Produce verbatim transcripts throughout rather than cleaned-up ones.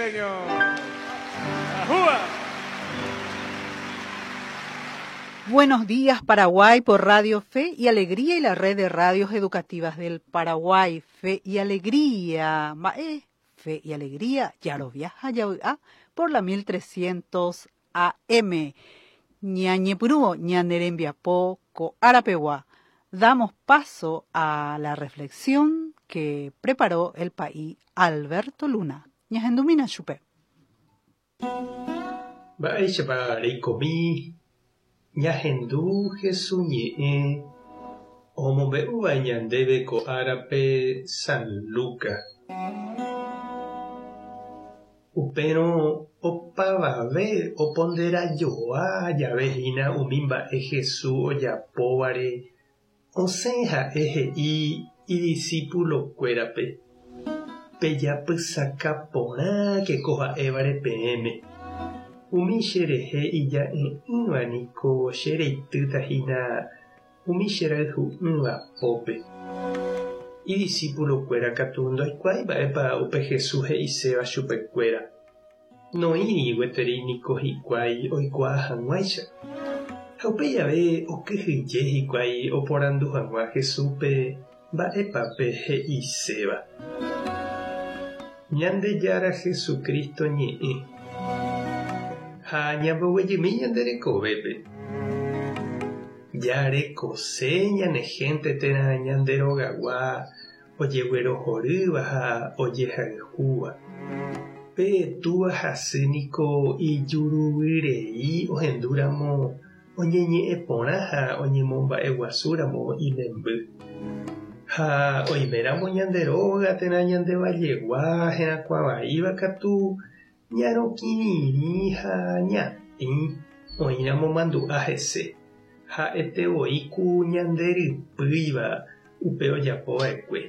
señor. ¡Ajúa! Buenos días, Paraguay, por Radio Fe y Alegría y la red de radios educativas del Paraguay. Fe y Alegría. Mae, Fe y Alegría, Yaroviaja, Yaoa, por la mil trescientos A M. Ñañepurúo, ñanerembiapo, ko árape. Damos paso a la reflexión que preparó el pa'i Alberto Luna. Ñahendumína chupe. Mba'éichapa reikomi? Ñahendu Jesús ñe'ẽ omombe'úva ñandéve ko árape San Lucas. Upérõ opavave oponderajoa jave hína umi mba'e Jesús ojapóvare, osẽ ha'e he'i idiscipulokuérape: "Pejapysaka porãke ko ha'évare peẽme. Umi cherehe ija'e'ỹva niko chereitýta hína umi cherayhu'ỹva pópe". Idiscipulokuéra katu ndoikuaái mba'épa upe Jesús he'iséva chupekuéra. Noĩri gueteri niko hikuái oikuaa hag̃uáicha. Ha upe jave okyhyje hikuái oporandu hag̃ua Jesúspe mba'épa pe he'iséva. Ñandejára Jesucristo ñe'ẽ. Ha ñamboguejymi ñande rekovépe. Jarekose ñane gente térã ñande rogagua ojeguerohorýva ha ojehayhúva. Pe túva ha sy niko ijuruvyrei ohendúramo oñeñe'ẽ porã ha oñemomba'eguasúramo imemby. Ha oiméramo ñande róga térã ñande vallegua herakuãvaíva katu ñarõkirirĩ ha ñatĩ oĩramo mandu'a hese. Ha'etevoi ku ñanderypýiva upe ojapova'ekue.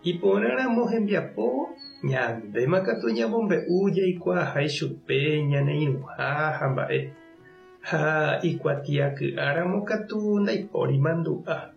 Iporãramo hembiapo, ñandéma katu ñamombe'u jaikuaaha ichupe ñane irũha ha mba'e. Ha ikuatiaky'áramo katu ndaipóri mandu'a.